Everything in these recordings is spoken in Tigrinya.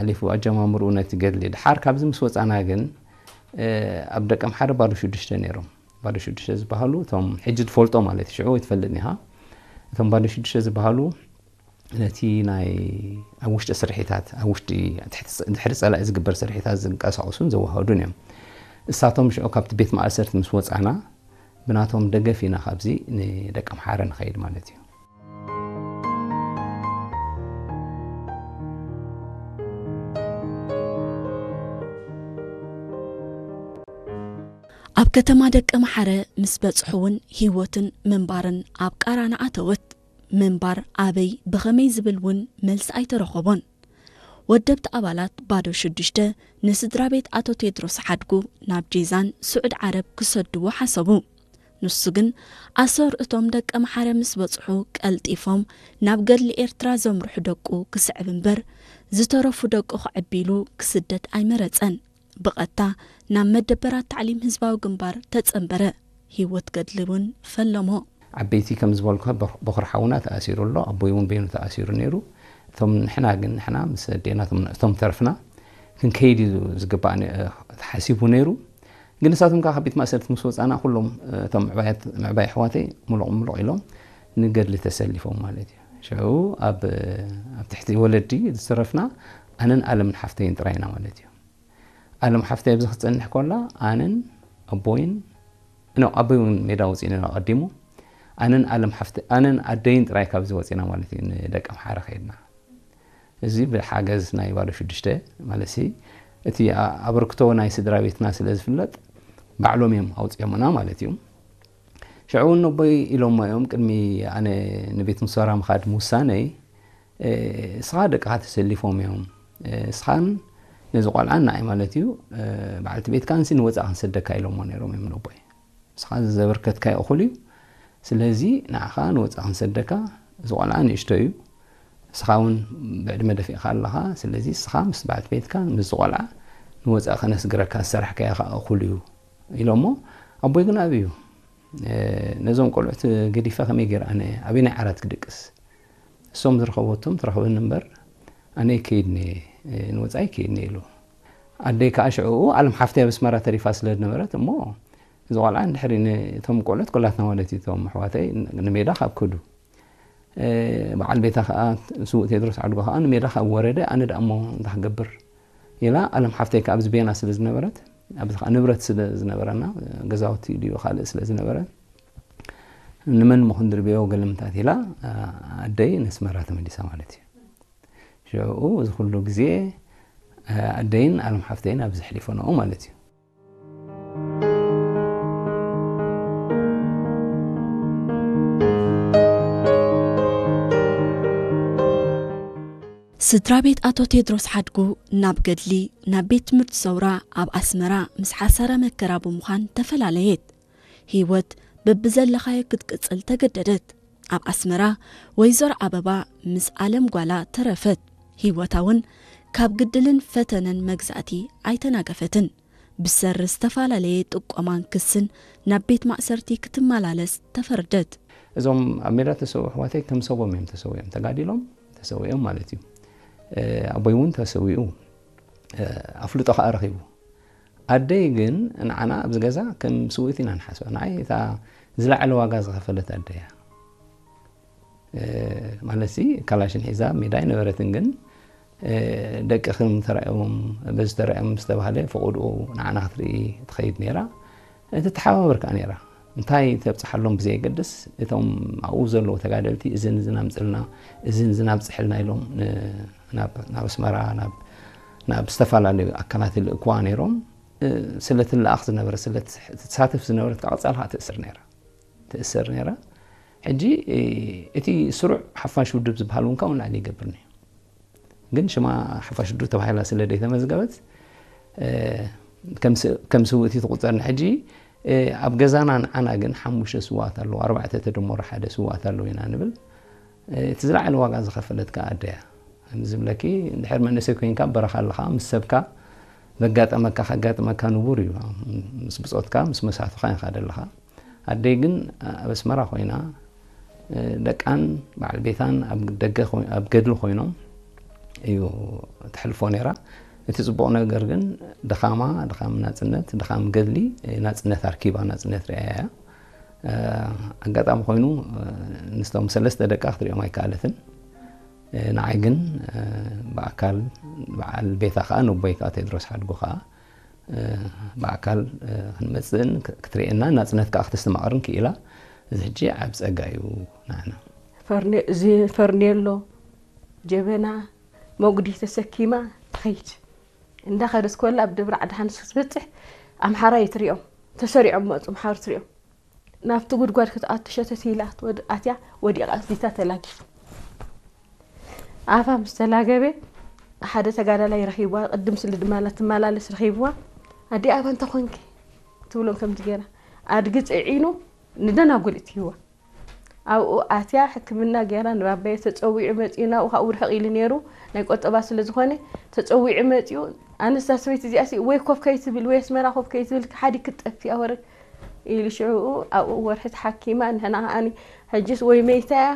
ሓሊፉ ኣጀማምርኡ ነቲ ገድሊ። ድሓር ካብዚ ምስ ወጻና ግን ኣብ ደቀምሓረ ባዶ ሽዱሽተ ነይሮም። ባዶ ሽዱሽተ ዝበሃሉ እቶም ሕጂ ትፈልጦ ማለት እዩ፣ ሽዑ ኣይትፈልጥን ኢኻ። እቶም ባዶ ሽዱሽተ ዝበሃሉ ነቲ ናይ ኣብ ውሽጢ ስርሒታት፣ ኣብ ውሽጢ ድሕሪ ጸላኢ ዝግበር ስርሒታት ዝንቀሳቐሱን ዘዋህዱን እዮም። እሳቶም ሽዑ ካብቲ ቤት ማእሰርቲ ምስ ወጻና ብናቶም ደገፍ ኢና ካብዚ ንደቀምሓረ ንኸይድ ማለት እዩ። ኣብ ከተማ ደቀምሓረ ምስ በጽሑ እውን ህይወትን ምንባርን ኣብ ቃራና ኣተወት። ምንባር ኣበይ ብኸመይ ዝብል እውን መልሲ ኣይተረኸቦን። ወደብቲ ኣባላት ባዶ ሽዱሽተ ንስድራ ቤት ኣቶ ቴድሮስ ሓድጉ ናብ ጄዛን ስዑድ ዓረብ ክሰድዎ ሓሰቡ። ንሱ ግን ኣሰር እቶም ደቀምሓረ ምስ በጽሑ ቀልጢፎም ናብ ገድሊ ኤርትራ ዘምርሑ ደቁ ክስዕብ እምበር ዝተረፉ ደቁ ክዕቢ ኢሉ ክስደድ ኣይመረጸን። ብቐጥታ ናብ መደበራት ታዕሊም ህዝባዊ ግንባር ተጸንበረ። ህይወት ገድሊ እውን ፈለሞ። ዓበይቲ ከም ዝበልኩ በኹሪ ሓውና ተኣሲሩ ኣሎ፣ ኣቦይ እውን በይኑ ተኣሲሩ ነይሩ። እቶም ንሕና ግን ንሕና ምስ ኣዴና እቶም ተረፍና ክንከይድ እዩ ዝግባእ ተሓሲቡ ነይሩ። ግን ንሳቶም ከዓ ካብ ቤት ማእሰርቲ ምስ ወፃና ኩሎም እቶም ምዕባይ ኣሕዋተይ ሙሉቕ ሙሉቕ ኢሎም ንገድሊ ተሰሊፎም ማለት እዩ። ሽዑ ኣብ ኣብ ትሕቲ ወለዲ ዝተረፍና ኣነን ኣለምን ሓፍተይን ጥራይና ማለት እዩ። ኣለም ሓፍተይ ኣብዚ ክትፀንሕ ኮላ ኣነን ኣቦይን ኖ ኣቦይ እውን ሜዳ ወፂኡ ነይሩ ኣቐዲሙ። ኣነን ኣለም ሓፍተ ኣነን ኣደይን ጥራይ ካብዚ ወፂና ማለት እዩ ንደቂ ኣምሓረ ከይድና። እዚ ብሓገዝ ናይ ባዶ ሽዱሽተ ማለት ሲ እቲ ኣበርክቶ ናይ ስድራ ቤትና ስለ ዝፍለጥ ባዕሎም እዮም ኣውፅኦምና ማለት እዩ። ሽዑ እውን ኣቦይ ኢሎሞ እዮም ቅድሚ ኣነ ንቤት ምሶራ ምኻድ ምውሳነይ እስኻ ደቅኻ ተሰሊፎም እዮም። እስኻን ነዚ ቆልዓን ንዓይ ማለት እዩ በዓልቲ ቤትካንሲ ንወፃእ ክንሰደካ ኢሎሞ ነይሮም እዮም ነቦይ። እስኻ ዘበርከትካዮ እኹል እዩ። ስለዚ ንዓኻ ንወፃእ ክንሰደካ እዚ ቆልዓ ንእሽቶ እዩ። እስኻ እውን ብዕድመ ደፊእካ ኣለኻ። ስለዚ እስኻ ምስ በዓልቲ ቤትካ ምስዚ ቆልዓ ንወፃእ ከነስግረካ ዝሰራሕካዮ ከዓ እኹል እዩ ኢሎሞ ኣቦይ ግን ኣብዩ ነዞም ቆልዑት ገዲፈ ከመይ ገይረ ኣነ ኣበየናይ ዓራት ክድቅስ? እሶም ዝረኸበቶም ትረኽበኒ እምበር ኣነ ይከይድኒ ንወፃኢ ይከይድኒ ኢሉ። ኣደይ ከዓ ሽዕኡ ኣለም ሓፍተይ ኣብ ኣስመራ ተሪፋ ስለ ዝነበረት እሞ እዚ ቆልዓ እንድሕሪ ነቶም ቆልዑት ኩላትና ማለት እዩ እቶም ኣሕዋተይ ንሜዳ ካብ ክዱ በዓል ቤታ ከዓ ስውእ ቴድሮስ ዓድጎ ከዓ ንሜዳ ካብ ወረደ ኣነ ደኣ እሞ እንታይ ክገብር ኢላ ኣለም ሓፍተይ ከዓ ኣብዚ ቤና ስለ ዝነበረት ኣብዚ ከዓ ንብረት ስለ ዝነበረና ገዛውቲ ድዩ ካልእ ስለ ዝነበረ ንመን ምኹን ድርብዮ ገለምታት ኢላ ኣደይ ነስመራ ተመሊሳ ማለት እዩ። ሽዑ እዚ ኩሉ ግዜ ኣደይን ኣለም ሓፍተይን ኣብዚ ሕሊፈንኦ ማለት እዩ። ስድራ ቤት ኣቶ ቴድሮስ ሓድጉ ናብ ገድሊ ናብ ቤት ትምህርቲ ሰውራ ኣብ ኣስመራ ምስ ሓሳረ መከራ ብምዃን ተፈላለየት። ህይወት በብዘለኻዮ ክትቅጽል ተገደደት። ኣብ ኣስመራ ወይዘሮ ኣበባ ምስ ኣለም ጓላ ተረፈት። ህይወታ እውን ካብ ግድልን ፈተነን መግዛእቲ ኣይተናገፈትን። ብሰሪ ዝተፈላለየ ጥቆማን ክስን ናብ ቤት ማእሰርቲ ክትመላለስ ተፈርደት። እዞም ኣብ ሜዳ ተሰው ኣሕዋተይ ከም ሰቦም እዮም ተሰዊኦም፣ ተጋዲሎም ተሰዊኦም ማለት እዩ። ኣቦይ እውን ተሰዊኡ ኣፍልጦ ከዓ ረኺቡ። ኣደይ ግን ንዓና ኣብዚ ገዛ ከም ስውእቲ ኢና ንሓስባ። ንዓይ እታ ዝለዓለ ዋጋ ዝኸፈለት ኣደይ እያ። ማለት ሲ ካላሽን ሒዛ ሜዳ ኣይነበረትን፣ ግን ደቅኽም ተራእዮም በዚ ተራእዮም ዝተባህለ ፈቐድኡ ንዓና ክትርኢ ትኸይድ ነይራ። ትተሓባበር ከዓ ነይራ። እንታይ ተብፅሓሎም ብዘየገድስ እቶም ኣብኡ ዘለዉ ተጋደልቲ እዝን እዝን ኣምፅልና እዝን እዝን ኣብፅሕልና ኢሎም ናብ ኣስመራ ናብ ዝተፈላለዩ ኣካላት ይልእክዋ ነይሮም። ስለ ትለኣኽ ዝነበረ ስለ ትሳተፍ ዝነበረት ከዓ ቀፃል ከዓ ትእስር ነይራ ትእሰር ነይራ። ሕጂ እቲ ስሩዕ ሓፋሽ ውድብ ዝበሃል እውን ካብኡ ንላዕሊ ይገብር ነይሩ። ግን ሽማ ሓፋሽ ውድብ ተባሂላ ስለ ዘይተመዝገበት ከም ስውእቲ ትቁፀር። ንሕጂ ኣብ ገዛና ንዓና ግን ሓሙሽተ ስዋኣት ኣለዉ፣ ኣርባዕተ ተደመሩ ሓደ ስዋኣት ኣለዉ ኢና ንብል። እቲ ዝለዓለ ዋጋ ዝኸፈለት ከዓ ኣደያ ዝብለኪ እንድሕር መንእሰይ ኮይንካ በረኻ ኣለኻ ምስ ሰብካ ዘጋጠመካ ከጋጥመካ ንቡር እዩ። ምስ ብፆትካ ምስ መሳቱኻ ኢኻ ደለኻ። ኣደይ ግን ኣብ ኣስመራ ኮይና ደቃን በዓል ቤታን ኣብ ደገ ኣብ ገድሊ ኮይኖም እዩ ተሕልፎ ነይራ። እቲ ጽቡቕ ነገር ግን ድኻማ፣ ድኻም ናጽነት፣ ድኻም ገድሊ፣ ናጽነት ኣርኪባ፣ ናጽነት ርእያ እያ። ኣጋጣሚ ኮይኑ፣ ንስቶም ሰለስተ ደቃ ክትሪኦም ኣይከኣለትን። ንዓይ ግን ብኣካል፣ በዓል ቤታ ከኣ፣ ነቦይ ከኣ ቴድሮስ ሓድጉ ከኣ፣ ብኣካል ክንመጽእን ክትርእየና፣ ናጽነት ከኣ ክተስተማቕርን ክኢላ። እዚ ሕጂ ዓብ ጸጋ እዩ ንዓና። ፈርኔ-፣ እዚ ፈርኔሎ፣ ጀበና፣ መጉዲ ተሰኪማ ትኸይድ። እንዳኸደት ኮላ ኣብ ደብረ ዓዲ ሓንስ ክትበጽሕ ኣምሓራይ ትሪኦም። ተሰሪዖም መጹ ኣምሓሩ ትሪኦም። ናብቲ ጉድጓድ ክትኣቱ ሸተት ኢላ ክትወድ-፣ ኣትያ ወዲቓ ኣዚታ ተላጊቡ። ኣፋ ምስ ተላገበ ሓደ ተጋዳላይ ረኺብዋ፣ ቅድም ስሊ ድማ ትመላለስ ረኺብዋ። ኣዲ ኣባ እንተ ኾንኪ ትብሎም ከምዚ ገይራ። ኣድጊ ጽዒኑ ንደናጉል እትይዋ። ኣብኡ ኣትያ ሕክምና ገይራ ንባባየ ተጸዊዑ መጺኡ ናብኡ ካብኡ ርሕቕ ኢሉ ነይሩ። ናይ ቆጠባ ስለ ዝኾነ ተጸዊዑ መጺኡ ኣነስ እዛ ሰበይቲ እዚኣሲ ወይ ኮፍ ከይትብል ወይ ኣስመራ ኮፍ ከይትብል ሓዲግ ክትጠፊ ኣወረ ኢሉ ሽዕኡ ኣብኡ ወርሒ ተሓኪማ ንሕና ከኣኒ ሕጅስ ወይ መይታ እያ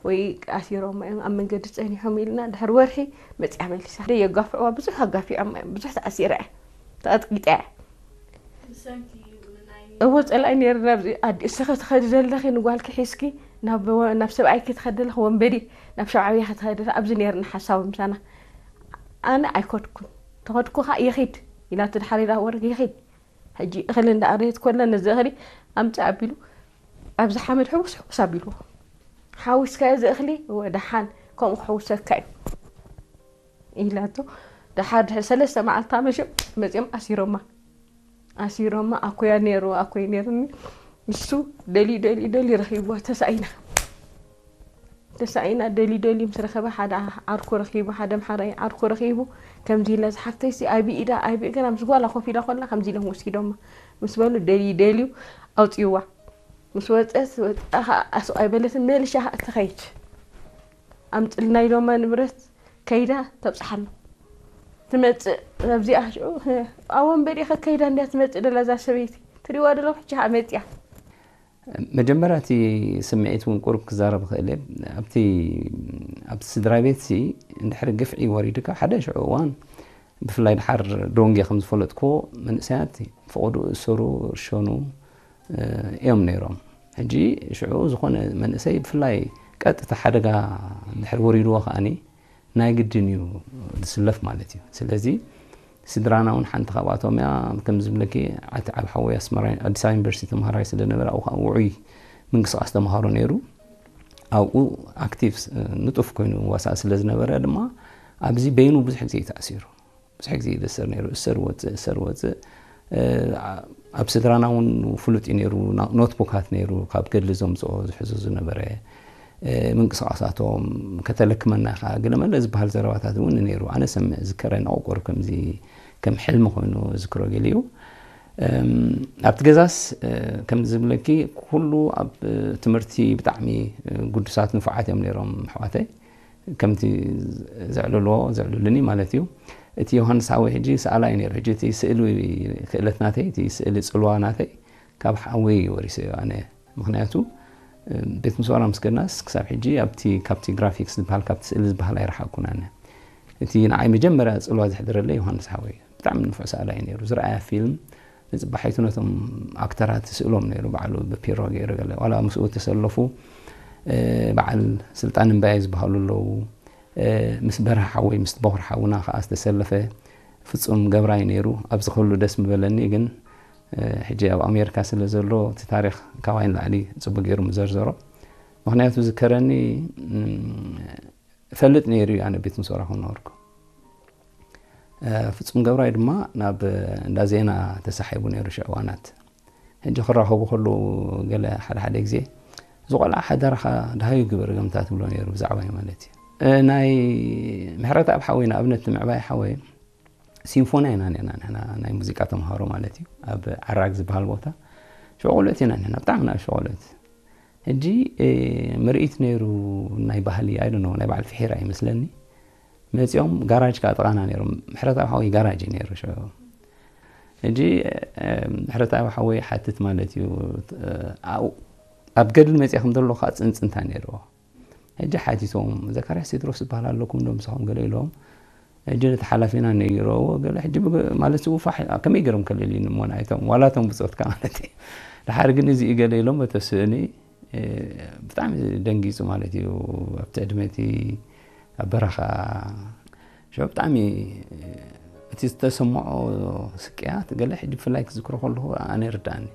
ወይ ኣሲሮማ እዮም ኣብ መንገዲ ጸኒሖም ኢልና ድሕሪ ወርሒ መጺኣ መሊሳ። ደይ የጋፍዕዋ ብዙሕ ኣጋፊዖማ እዮም። ብዙሕ ተኣሲራ እያ። ተቐጥቂጣ እያ። እዎ ጸላኢ ነይርና ኣብዚ ኣዲ እስኸ ትኸዲ ዘለኺ ንጓልኪ ሒዝኪ ናብ ወ-፣ ናብ ሰብኣይኪ ትኸዲ ዘለኺ ወንበዴ ናብ ሸውዓብያ ክትኸዲ ዘለኺ ኣብዚ ነይርና ሓሳዊ ምሳና። ኣነ ኣይኮድኩን። ተኸድኩ ኸኣ ይኺድ ኢላ ትድሓር ኢላ ወረ ይኺድ። ሕጂ እኽሊ እንዳኣረየት ኮላ ነዚ እኽሊ ኣምጽእ ኣቢሉ ኣብዚ ሓመድ ሕውስ ሕውስ ኣቢልዎ። ሓዊስካዮ እዚ እኽሊ እወ ደሓን ከምኡ ክሕውሰካ እዩ። ኢላቶ። ደሓር ድሕሪ ሰለስተ መዓልቲ ኣመሸ መጺኦም ኣሲሮማ። ኣሲሮማ ኣኮያ ነይሩ፣ ኣኮይ ነይሩኒ። ንሱ ደልዩ፣ ደልዩ፣ ደልዩ ረኺብዋ። ተሳኢና። ተሳኢና ደልዩ፣ ደልዩ ምስ ረኸበ ሓደ ዓርኩ ረኺቡ፣ ሓደ ኣምሓራይ ዓርኩ ረኺቡ። ከምዚ ኢለ ዝሓፍተይሲ ኣይቢ ኢዳ፣ ኣይቢ እግራ ምስ ጓላ ኮፍ ኢላ ኮላ ከምዚ ኢሎም ወሲዶማ። ምስ በሉ ደልዩ፣ ደልዩ ኣውጽእዋ። ምስ ወጸት፣ ወጻ ኸኣ ኣስቕ ኣይበለትን፣ መሊሻ ኸኣ ትኸይድ። ኣምጽልና ኢሎማ ንብረት ከይዳ ተብጽሓሎም። ትመጽእ ኣብዚኣ ሽዑ፣ ኣብ ወንበዴ ከከይዳ እንድያ ትመጽእ ደላ እዛ ሰበይቲ። ትሪእዋ ደለኹም ሕጂ ኸኣ መጺኣ። መጀመርያ እቲ ስምዒት እውን ቁሩብ ክዛረብ እኽእል እየ። ኣብቲ፣ ኣብቲ ስድራ ቤትሲ እንድሕሪ ግፍዒ ወሪዱካ ሓደ ሽዑ እዋን፣ ብፍላይ ደሓር ዶንጌ ከም ዝፈለጥክዎ መንእሰያት ፈቐድኡ እሰሩ፣ እርሸኑ፣ እ፣ እዮም ነይሮም። ሕጂ ሽዑ ዝኾነ መንእሰይ ብፍላይ ቀጥታ ሓደጋ እንድሕር ወሪድዎ ከኣኒ ናይ ግድን እዩ ዝስለፍ ማለት እዩ። ስለዚ ስድራና እውን ሓንቲ ካብኣቶም እያ። ከም ዝብለኪ ዓቲ ዓብ ሓወይ ኣስመራ ኣዲስ ኣበባ ዩኒቨርሲቲ ተምሃራይ ስለ ነበረ ኣብኡ ከዓ ውዑይ ምንቅስቃስ ተምሃሮ ነይሩ። ኣብኡ ኣክቲቭ ስ-፣ ንጡፍ ኮይኑ ዋሳእ ስለ ዝነበረ ድማ ኣብዚ በይኑ ብዙሕ ግዜ እዩ ተኣሲሩ። ብዙሕ ግዜ ይእሰር ነይሩ። እሰር ወፅእ፣ እሰር ወፅእ። እ፣ ኣብ ስድራና እውን ፍሉጥ እዩ ነይሩ። ና-፣ ኖትቡካት ነይሩ፣ ካብ ገድሊ ዘምፅኦ ዝሕዞ ዝነበረ፣ እ፣ ምንቅስቃሳቶም፣ ከተለክመና ኢኻ፣ ገለመለ ዝበሃል ዘረባታት እውን ነይሩ። ኣነ ሰምዕ ዝከረ ንቆቆር ከምዚ ከም ሕልሚ ኮይኑ ዝክሮ ገሊኡ። እም፣ ኣብቲ ገዛስ፣ እ፣ ከም ዝብለኪ ኩሉ ኣብ፣ እ፣ ትምህርቲ ብጣዕሚ፣ እ፣ ግዱሳት ንፉዓት እዮም ነይሮም ኣሕዋተይ። ከምቲ ዘዕልልዎ ዘዕልሉኒ ማለት እዩ። እቲ ዮሃንስ ሓወይ ሕጂ ሰኣላይ ነይሩ። ሕጂ እቲ ስእሊ ክእለት ናተይ፣ እቲ ስእሊ ጽልዋ ናተይ ካብ ሓወይ እዩ ወሪሰዮ ኣነ። ምኽንያቱ፣ እ፣ ቤት ምስዋራ ምስ ከድናስ ክሳብ ሕጂ ኣብቲ፣ ካብቲ ግራፊክስ ዝበሃል፣ ካብቲ ስእሊ ዝበሃል ኣይረሓቅኩን ኣነ። እቲ ንዓይ መጀመርያ ጽልዋ ዘሕደረለይ ዮሃንስ ሓወይ እዩ። ብጣዕሚ ንፉዕ ሰኣላይ ነይሩ። ዝረኣያ ፊልም ንጽባሒቱ ነቶም ኣክተራት ስእሎም ነይሩ ባዕሉ ብፒሮ ገይሩ ገለ። ዋላ ምስኡ ተሰለፉ፣ እ፣ በዓል ስልጣን እምባየ ዝበሃሉ ኣለዉ። እ፣ ምስ በርሀ ሓወይ፣ ምስ በኹር ሓውና ከኣ ዝተሰለፈ ፍጹም ገብራይ ነይሩ። ኣብዚ ኩሉ ደስ ምበለኒ፣ ግን፣ እ፣ ሕጂ ኣብ ኣሜሪካ ስለ ዘሎ እቲ ታሪኽ ካባይ ንላዕሊ ጽቡቅ ገይሩ ምዘርዘሮ። ምኽንያቱ ዝከረኒ፣ እም፣ እፈልጥ ነይሩ እዩ ኣነ ቤት ምስዋራ ክነበርኩ። እ፣ ፍጹም ገብራይ ድማ ናብ እንዳ ዜና ተሳሒቡ ነይሩ ሽዑ እዋናት። ሕጂ ክራኸቡ ከለዉ ገለ ሓደ ሓደ ግዜ፣ "እዚ ቆልዓ ሓደራኻ ደሃዩ ግበር" ገምታ ትብሎ ነይሩ ብዛዕባይ ማለት እዩ። እ፣ ናይ ምሕረተኣብ ሓወይ ንኣብነት ምዕባይ ሓወይ ሲምፎንያ ኢና ነርና ንሕና ናይ ሙዚቃ ተምሃሮ ማለት እዩ። ኣብ ዓራግ ዝበሃል ቦታ ሽዑ ቆልዑት ኢና ንሕና፣ ብጣዕሚ ንኣሽቱ ቆልዑት። ሕጂ፣ እ፣ ምርኢት ነይሩ ናይ ባህሊ፣ I don't know፣ ናይ በዓል ፍሒራ ይመስለኒ። መጺኦም ጋራጅ ከኣ ጥቓና ነይሮም። ምሕረተኣብ ሓወይ ጋራጅ እዩ ነይሩ ሽዑ። ሕጂ፣ እ፣ ምሕረተኣብ ሓወይ ሓትት ማለት እዩ። እ፣ ኣብኡ፣ ኣብ ገድሊ መጺኣ ከም ዘሎ ከኣ ጽንጽንታ ነይርዎ። ሕጂ ሓቲቶም፣ "ዘካርያስ ቴድሮስ ዝበሃል ኣለኩም ዶ ምሳኹም?" ገለ ኢሎም። ሕጂ ነቲ ሓላፊና ነጊረዎ፣ ገለ ሕጂ ብገ-፣ ማለት፣ ጽውፋሕ ከመይ ገይሮም ከለልዩኒ እሞ ናይቶም፣ ዋላ እቶም ብጾትካ ማለት እዩ። ድሓር ግን እዚ ገለ ኢሎም በቲ ስእሊ፣ እ፣ ብጣዕሚ ደንጊጹ ማለት እዩ። ኣብቲ ዕድመ እቲ ኣብ በረኻ፣ ሸው ብጣዕሚ፣ እ፣ እቲ ዝተሰምዖ ስቅያት ገለ ሕጂ ብፍላይ ክዝክሮ ከለኹ ኣነ ይርድኣኒ።